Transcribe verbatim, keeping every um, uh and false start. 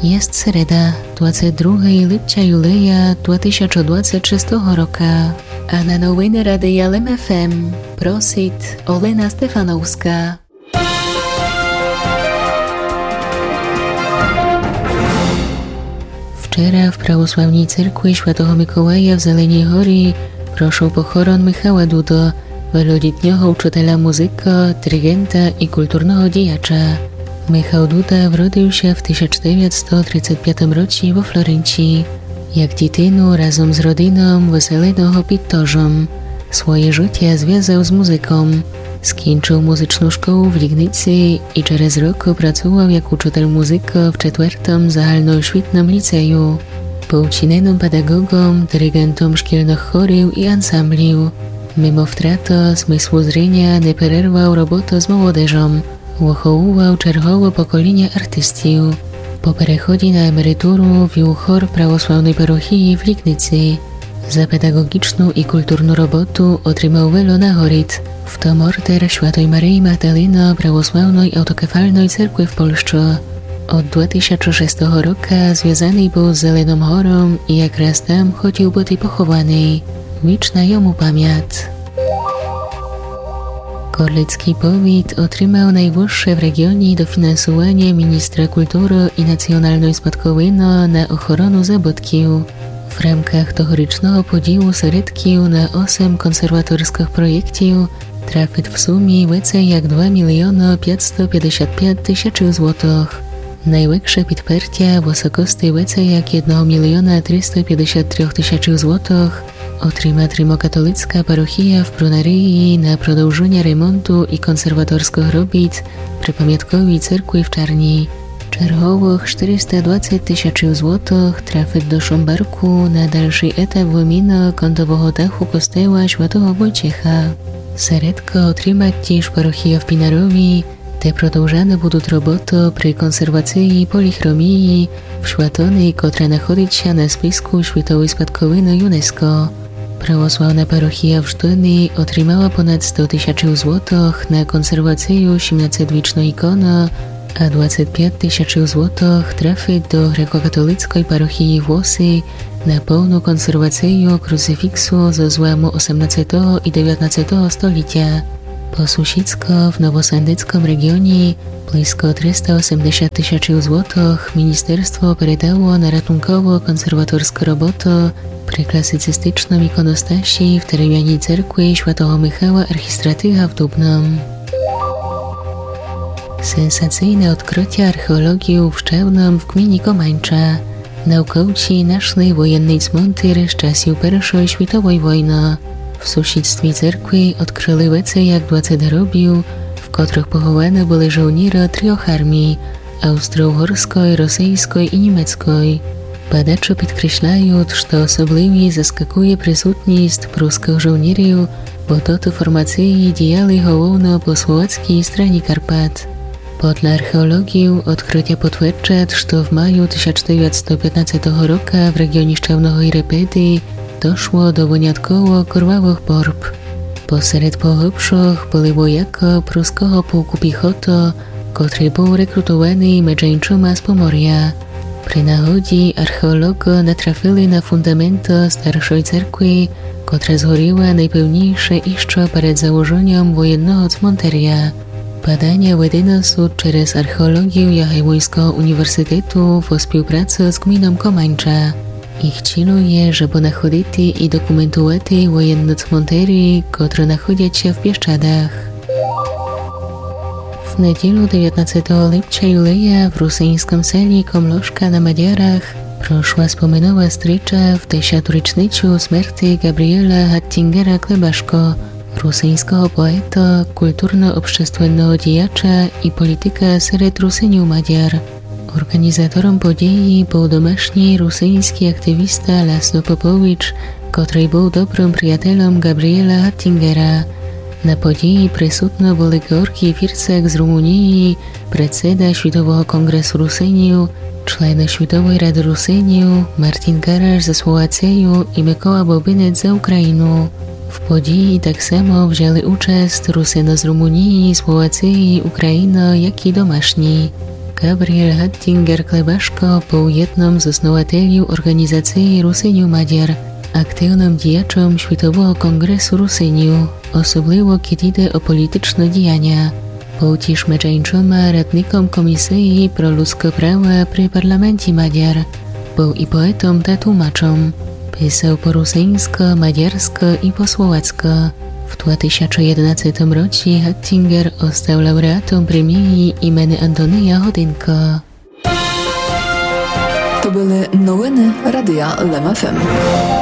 Єст середа, двадцет другый липця юлея два тисячы двадцет шестого рока. А на новины Радия Лем ФМ просит Олена Стефановска. Вчера в православній церкви Святого Миколая в Зеленій горі прошов похорон Михала Дуда, велодітнього учителя музика, диригента і культурного діяча. Михал Дуда вродив ся в тисяч девятсто тридцет пятым році во Флоренції. Як дітину разом з родином выселеного під Тожом. Своє жытя звязав з музиком. Скінчив музичну школу в Лігниці і через рокы працовав як учитель музика в четвертым загальноосвітным ліцею. Быв ціненым педагогом, диригентом шкільных хорів і ансамблів. Мимо втрата смыслу зріня не перервав роботу з молодежом. Выховував чергове поколіня артистів. По переході на емеритуру вів хор православной парохії в Лігниці. За педагогічну і культурну роботу отримав вельо нагорід, в том ордер Святой Марії Магдалины православной автокефальной церкви в Польщі. Од два тисячы шестого рока звязаный быв з Зеленым гором і якраз там хотів быти похованый. Вічна йому памят. Корлицькый повіт отримав найвысше в реґіоні дофінансованя міністра культуры і націоналной спадковины на охорону забытків. В рамках тогорічного поділу середків на осем консерваторскых проєктів трафит в сумі веце як два міліона пятсто пятдесят пят тисячів злотых. Найвекше підпертя в высокости веце як єдного міліона триста пятдесят трьох тисячів злотых отримат римокатолицка парохія в Брунарії на продовженя ремонту і консерваторскых робіт при памятковій церкви в Чарні. Черговых штыриста двадцет тисячів злотых трафит до Шомбарку на дальшый етап выміны кантового даху костела Святого Войцеха. Середко отримат тіж парохія в Пінарові, де продовжаны будут роботы при консервациі поліхромії в святыни, котра находит ся на списку світовой спадковины ЮНЕСКО. Православна парохія в Ждыни отримала понад сто тисячів злотых на консервацию сімнадцетвічной іконы, а двадцет пят тисячів злотых трафит до грекокатолицкой парохії в Лоси на повну консервацию круцифіксу зо зламу осемнадцетого і девятнадцетого столітя. По сусідско в новосандицком реґіоні близко триста осемдесят тисячів злотых міністерство передало на ратунково-консерваторскы роботы при класицистичным іконостасі в деревяній церкви Святого Михала Архістратига в Дубным. Сенсацийне одкрытя археолоґів в Щевным в ґміні Команча. Наукоці нашли воєнный цмонтир з часів Першой світовой войны. В сусідстві церкви одкрыли веце як двадцет гробів, в котрых похованы были жовніры трьох армій: австро-угорской, росийской і німецкой. Бадачы підкресляют, што особливі заскакує присутніст прускых жовнірів, бо тоты формациі діяли головно по словацкій страні Карпат. Подля археолоґів одкрытя потверджат, што в маю тисяч девятсто пятнадцетого рока в реґіоні Щевного і Репеди дошло до вынятково курвавых борб. Посеред поглыбшох были воякы пруского полку піхоты, котрый быв рекрутованый меджи іншыма з Поморя. При нагоді археолоґы натрафили на фундаменты старшой церкви, котра згоріла найпевнійше іщы перед заложеньом воєнного цмонтеря. Баданя ведены сут через археолоґів Ягеллонського універсітету во співпраци з ґміном Команча. Їх цілу є, жебы находити і документувати воєнны цмонтері, котры находят ся в Пєщадах. В неділю девятнадцетого липця юлея в русиньскым селі Комлошка на Мадярах прошла споминова стріча в десяту річницю смерти Ґабрієла Гаттінгера Клебашко, русиньского поета, культурно-общественного діяча і політика серед Русинів Мадяр. Орґанізатором події быв домашній русиньскій активіста Ласло Попович, котрый быв добрым приятелем Ґабрієла Гаттінгера. На події присутны были Ґеорґій Фірцак з Румунії, председа Світового конґресу Русинів, члены Світовой рады Русинів, Мартін Гараш за Словацию і Микола Бобинець за Україну. В події так само взяли участ Русины з Румунії, Словації, України, як і домашні. Габріель Геттінгер-Клебашко быв єдным з основателів орґанізациі Русинів-Мадяр, активным діячом Світового конґресу Русинів, особливо кідь іде о політичны діяня. Быв тіж меджі иншыма радником Комісиі про людскы права при парламенті Мадяр. Быв і поетом та тлумачом. Писав по русиньскы, мадярскы і по словацькы. В два тисячы єдинадцятым році Геттінгер остав лауреатом преміі імены Антония Годинка. То были новины Радия Лем ФМ.